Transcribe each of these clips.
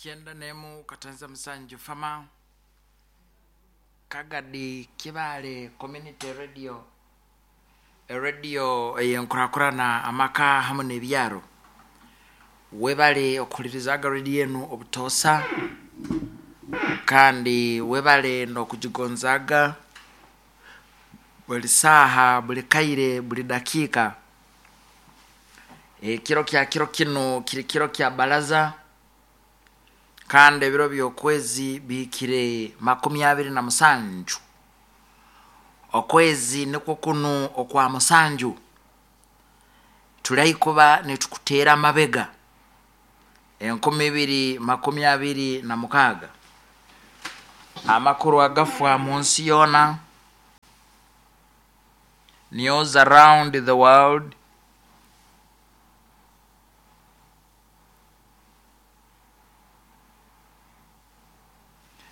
91 katanza musanju fama Kagadi Kibale Community Radio, eradio eyenkurakurana amaka hamu n'ebyaro. Webale okuhulirizaga radio enu obutoosa, kandi webale n'okugigonzaaga buli saaha, buli kaire, buli dakiika. Ekiro kya kiro kinu kiri kiro kya baraza, kandi ebiro by'okwezi bihikire 27. Okwezi nikwo kunu okwa musanju, tuli kuba nitukuteera amabega 2026. Amakuru agafa mu nsi yoona, news around the world,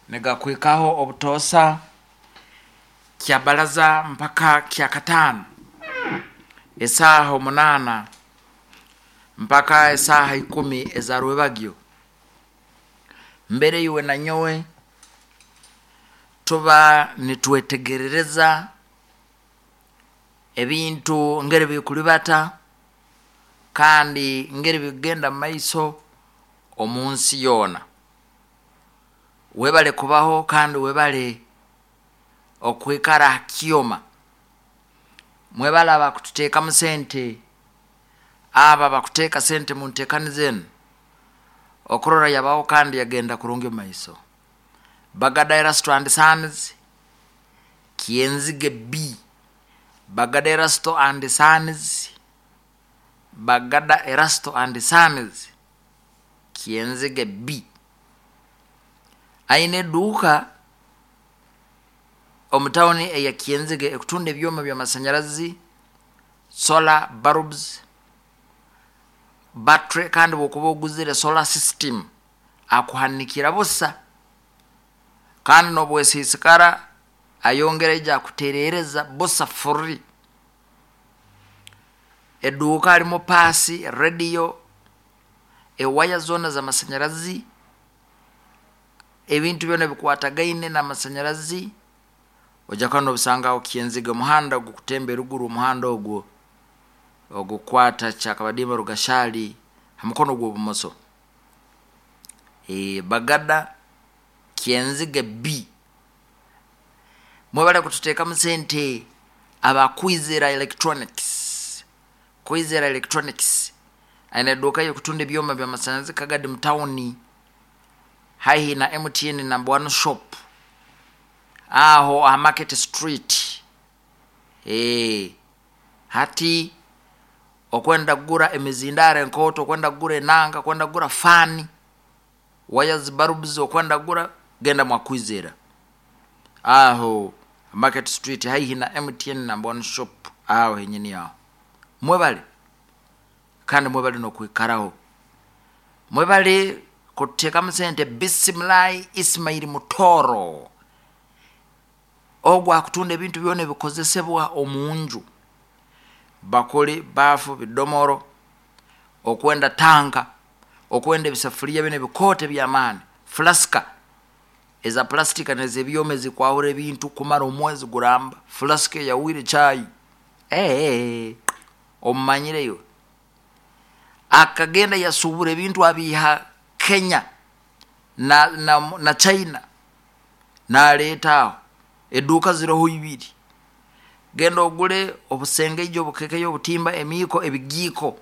nigakwikaho obutoosa kya baraza mpaka kya kataano, esaaha 8 mpaka esaaha 10 eza rwebagyo. Mbere iwe na nyowe tuba nitwetegerereza ebintu ngeri bikulibata kandi ngeri bikugenda mu maiso omu nsi yoona. Webale kubaho kandi webale okwikara ha kyoma. Mwebale abakututeekamu sente, abo abakuteeka sente mu nteekaniza enu okurora yabaho kandi yagenda kurungi omu maiso. Bagada Erasto and Sons, Kyenzige B. Bagada Erasto and Sons, Bagada Erasto and Sons, Kyenzige B. Aine eduuka omu tawuni eya Kyenzige ekutunda ebyoma by'amasanyarazi, solar bulbs, battery, kandi bw'okuba oguzire solar system akuhanikira busa, kandi n'obwesiisikara ayongera aija akutereereza busa free. Eduuka harimu paasi, rediyo, ewaya zoona z'amasanyarazi, ebintu byona ebikwatagaine n'amasanyarazi ojja kuba nobisanga aho Kyenzige, omuhanda ogukutemba eruguru, omuhanda ogwo ogukwata Kyakabadimba Rugashali ha mukono gw'obumoso. Bagada Kyenzige B. Mwebale kututeekamu sente aba Kwizera Electronics. Kwizera Electronics aine eduuka y'okutunda ebyoma by'amasanyarazi Kagadi mu tawuni haihi na MTN number 1 shop aho aha Market Street. Hati okwenda kugura emizindaaro enkooto, okwenda kugura enanga, okwenda kugura faani, wires bulbs, okwenda kugura, genda mwa Kwizera aho Market Street haihi na MTN number 1 shop aho henyini aho. Mwebale kandi mwebale n'okwikaraho. Mwebale kututeekamu sente Bisimilahi Ismail Mutoro, ogwo akutunda ebintu byona ebikozesebwa omu nju, bakuli, baafu, bidomoro, okwenda tanka, okwenda ebisafuriya binu ebikooto eby'amaani, fulasika eza pulastika n'ez'ebyoma ezikwahura ebintu kumara omwezi guramba, fulasika eyahwire chai, omumanyire iwe. Akagenda yasuubura ebintu abiiha Kenya na China naleeta aho, eduuka ziroho ibiri. Genda ogule obusengeija, obukekeyi, obutimba, emiiko, ebigiiko,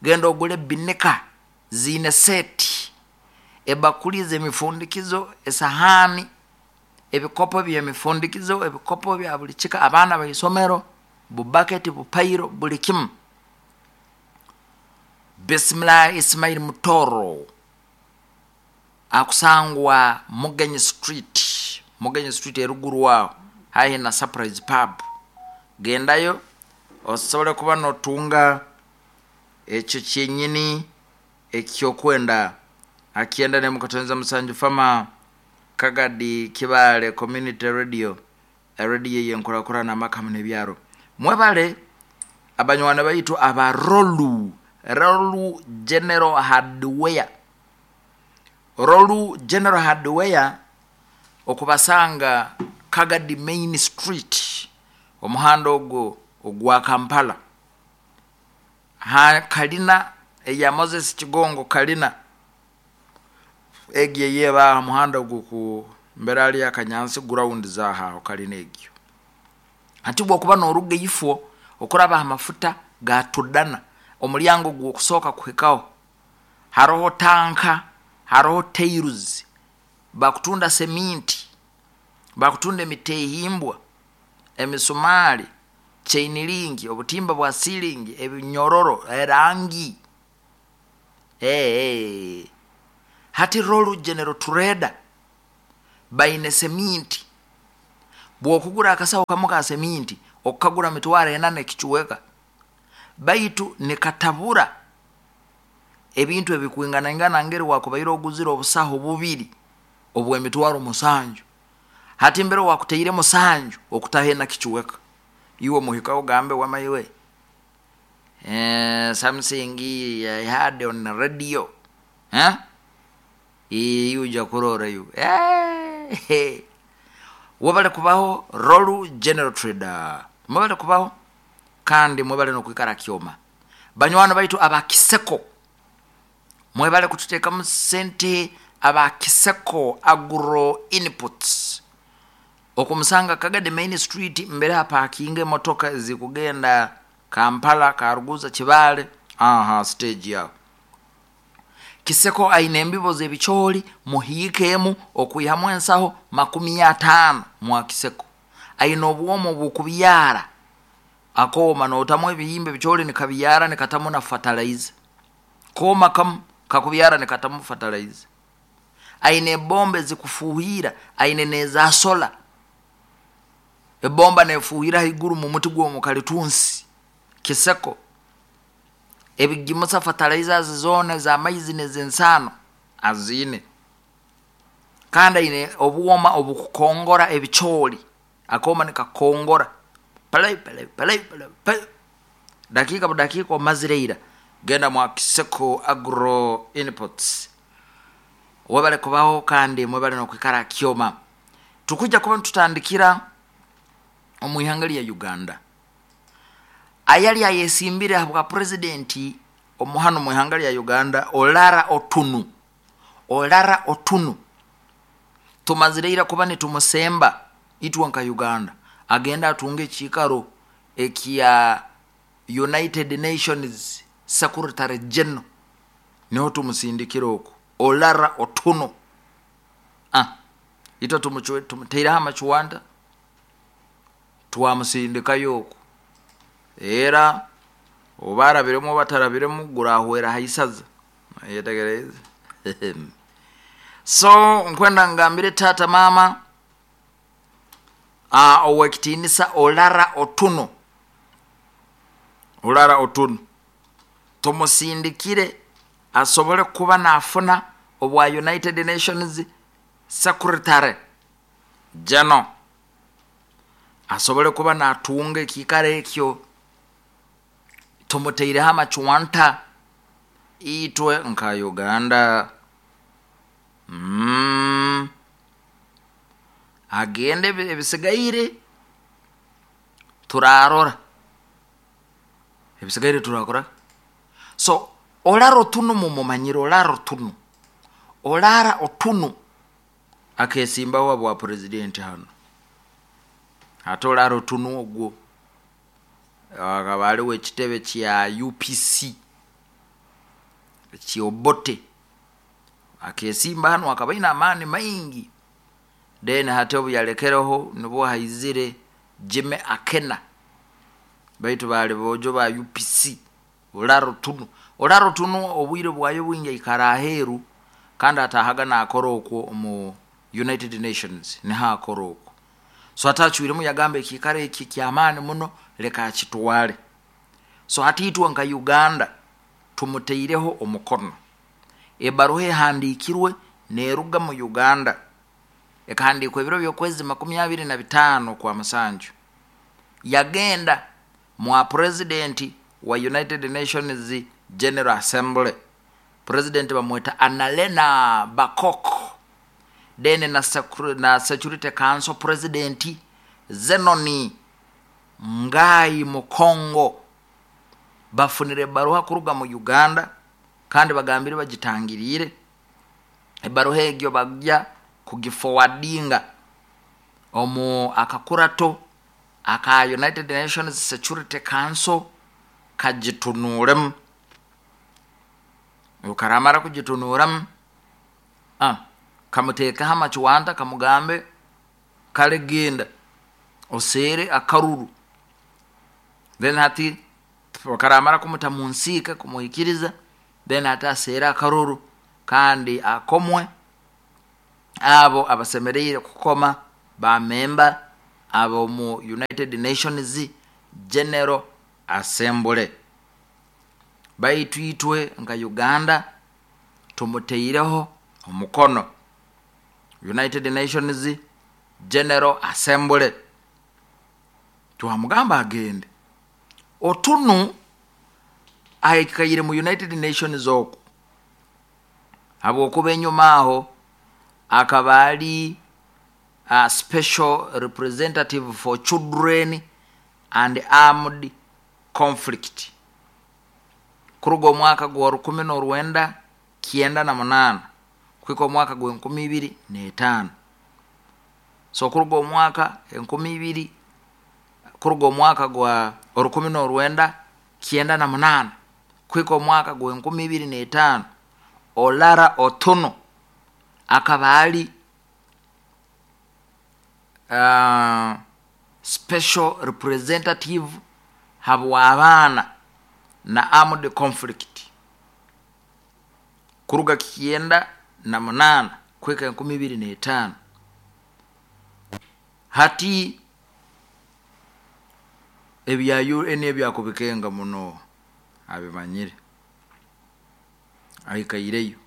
genda ogule binika ziine seeti, ebakuli ez'emifundikizo, esahaani, ebikopo by'emifundikizo, ebikopo bya buli kika, abaana b'isomero, bubaketi, bupairo, buli kimu. Bisimilahi Ismail Mutoro akusangwa Mugenyi Street, Mugenyi Street eruguru aho haihi na Surprise Pub. Gendayo osobole kuba notunga ekyo kyenyini ekyokwenda. Akyenda nemu katonza musanju fama Kagadi Kibale Community Radio, radio yenkurakurana amaka hamu n'ebyaro. Mwebale abanywana baitu aba Rolu, Rolu General Hardware. Rolu General Hardware, okubasanga Kagadi Main Street, omuhanda ogwo ogwa Kampala, ha kalina eya Moses Kigongo, kalina egyo eyeba aha muhanda oguku mbere ali Akanyansi ground zahaho kalina egyo. Hati bwokuba noruga ifo okuraba aha mafuta ga Tudana, omulyango gwokusooka kuhikaho haroho tanka, haroho tairuzi, bakutunda seminti, bakutunda emitehimbwa, emisumari, chain link, obutimba bwa ceiling, ebinyororo, erangi. Hey, hati Rolu General Trader baine seminti. Bwokugura akasaho kamu ka seminti okukagura 4,000 ekichweka, baitu nikatabura ebintu ebikwinganaingana ngeri wakubaire oguzire obusaho bubiri obw'emitwaro 7. Hati mbere wakuteire 7 okutaho ena kichweka, iwe muhikaho ogambe wamaiwe something I heard on radio, eh? Iwe ujja kurora iwe. Webale kubaho Rolu General Trader, mwebale kubaho kandi mwebale nokwikara kyoma. Banywani baitu aba Kiseko, mwebale kututeekamu sente. Aba Kiseko Agro Inputs, okumusanga Kagadi Main Street, mbere hapakinga emotoka zikugenda Kampala, Karuguza, Kibaale, aha stage yaho. Kiseko aine embibo z'ebicooli, muhiikeemu okwihamu ensaho 50. Mwa Kiseko aine obwomo obukubyara, akooma notamu ebihimba ebicooli nikabyara nikatamu na fertilizer, kooma kamu kakubyara nikatamu fertilizer. Aine ebomba ezikufuhira, aine neza sola, ebomba nefuhira haiguru mu muti gw'omukalitunsi. Kiseko ebigimusa fertilizers zoona ez'amaizi n'ez'ensaano aziine, kandi aine obwoma obukukongora ebicooli, akooma nikakongora pale pale pale pale pale, dakiika budakiika omazire ira. Genda mwa Kiseko Agro Inputs. Webale kubaho kandi mwebale nokwikara kyoma. Tukujja kuba nitutandikira omu ihanga lya Uganda. Ayali ayesimbire habwa purezidenti omuhano mu ihanga lya Uganda, Olara Otunu. Olara Otunu tumazire ira kuba nitumusemba itwe nka Uganda agenda atunga ekiikaro ekya United Nations Secretary General, niho tumusindikire oku Olara Otunu. Itwe tumuteireho amacwanta twamusindikayo oku, era oba arabiremu oba atarabiremu gurahwera haisaza yetegereze. So nkwenda ngambire tata mama owekitinisa Olara Otunu, Olara Otunu tumusindikire asobole kuba nafuna obwa United Nations Secretary General, asobole kuba natunga ekiikaro ekyo. Tumuteireho amacwanta itwe nka Uganda. Agende ebisigaire turarora, ebisigaire turakora. So Olara Otunu mumumanyire, Olara Otunu, Olara Otunu akesimbaho abwa purezidenti hano. Ate Olara Otunu ogwo akaba aliwo ekitebe kya UPC ekyobote, akesimba hano akaba aine amaani maingi. Then hati obu yalekereho nibwo haizire Jimmy Akena, baitu bali bojo ba UPC. Olara Otunu, Olara Otunu obwire bwayo bwingi aikara aheeru, kandi atahaga nakora okwo omu United Nations, niho akora okwo. So atacwiremu yagamba ekiikaro eki kyamaani muno, leka akitwale. So hati itwe nka Uganda tumuteireho omukono, ebaruha ehandikirwe neruga mu Uganda, ekahandikwa ebiro by'okwezi 25 kwa 7, yagenda mwa purezidenti wa United Nations General Assembly. President bamweta Annalena Baerbock, then na Security Council president Zenon Ngay Mukongo bafunire ebaruha kuruga mu Uganda, kandi bagambire bagitangiriire ebaruha egyo, bajja kugiforwardinga omu akakurato aka United Nations Security Council kagitunuuremu. Karamara kugitunuuramu, kamuteekeho amakiwanta, kamugambe, kale genda oseere akaruru. Then hati karamara kumuta mu nsiika, kumuhikiriza, then hati aseere akaruru kandi akomwe abo abasemereire kukoma, bamemba ab'omu United Nations General Assembly. Baitu itwe nka Uganda tumuteireho omukono United Nations General Assembly, twamugamba agende. Otunu aikaire mu United Nations oku, habwokuba enyuma aho akaba ali special representative for children and armed conflict kuruga omwaka gwa 1998 kuhika omwaka gwa 2005. So kuruga omwaka 2000, kuruga omwaka gwa 1998 kuhika omwaka gwa 2005, Olara Otuno akaba ali special representative habw'abaana na armed conflict kuruga 98 kuhika 2005. Hati ebya UN ebyakubikenga muno abimanyire, aikaireyo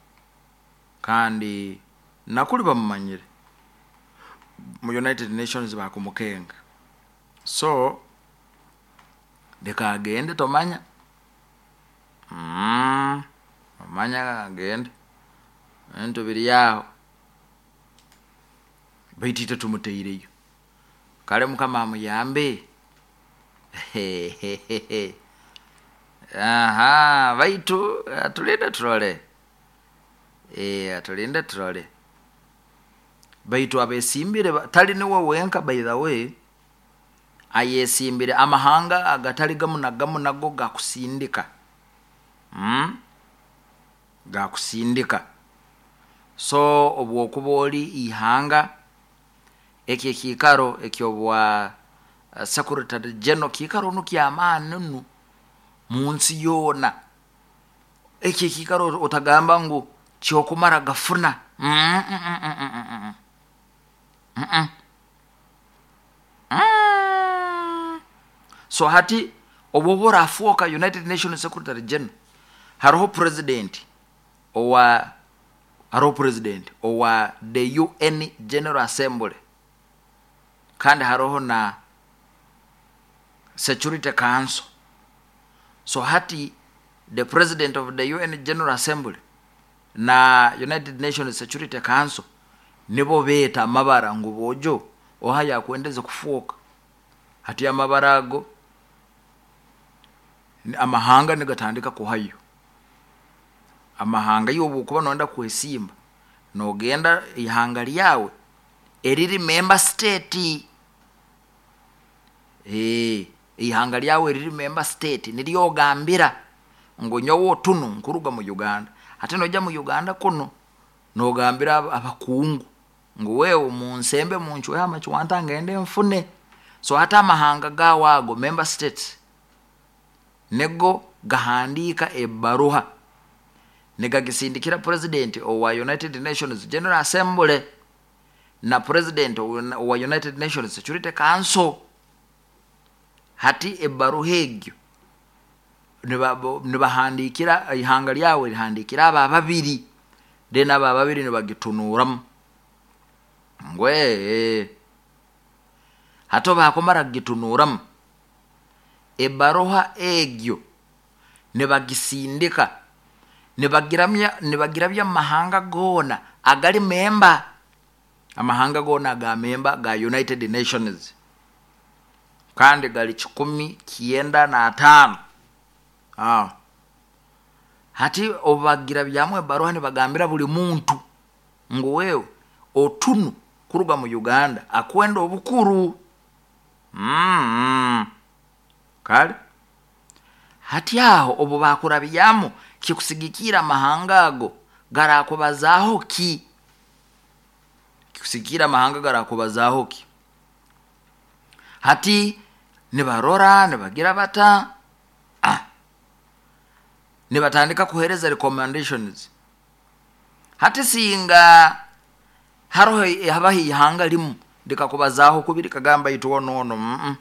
kandi nakuli bamumanyire mu United Nations, bakumukenga. So leka agende, tomanya, omanya agende, ebintu biri aho, baitu itwe tumuteireyo. Kale Mukama amuyambe. Aha, baitu atulinde turole, atulinde turole. Baitu abesimbire tali niwe wenka, by the way, ayesimbire. Amahanga agatali gamu na gamu nago gakusindika, Gakusindika. So obwokuba oli ihanga, eki ekiikaro ekyobwa secretary general kiikaro nu kyamaani nu mu nsi yoona. Eki ekiikaro otagamba ngu kyokumara gafuna. Mm, mm, mm, mm, mm, mm. Mm. So hati obwoba orafuuka United Nations secretary general, hariho president owa the UN General Assembly, kandi hariho na Security Council. So hati the president of the UN General Assembly na United Nations Security Council nibo beeta amabara ngu bojo oha yakwendeze kufuuka. Hati amabara ago, amahanga nigatandika kuhayo. Amahanga, iwe obwokuba noyenda kwesimba, nogenda ihanga lyawe eriri member state, ihanga lyawe eriri member state niryo ogambira ngu nyowe Otunu nkuruga mu Uganda. Hati noija mu Uganda kuno nogambira abakungu ngu wewe munsembe, muncweho amakiwanta ngende nfune. So hati amahanga gawe ago member states nigo gahandiika ebaruha nigagisindikira president owa United Nations General Assembly na president owa United Nations Security Council. Hati ebaruha egyo nibahandikira ihanga lyawe, rihandikira aba babiri, then aba babiri nibagitunuuramu ngu ee. Hati bakumara kugitunuuramu ebaruha egyo, nibagisindika. Nibagiramya, nibagirabya mu mahanga goona agali memba, amahanga goona aga memba ga United Nations, kandi gali 195. Ah. Hati obu bagirabyamu ebaruha, nibagambira buli muntu ngu wewe otunu kuruga mu Uganda akwenda obukuru. Kale hati aho obu bakurabyamu, kikusigikira amahanga ago garakubazaaho ki? Kikusigikira amahanga garakubazaaho ki? Hati nibarora, nibagira bata, ah, nibatandika kuhereza recommendations. Hati singa haroho habaho ihanga limu likakubazaaho kubi, likagamba, "Itwe ono ono."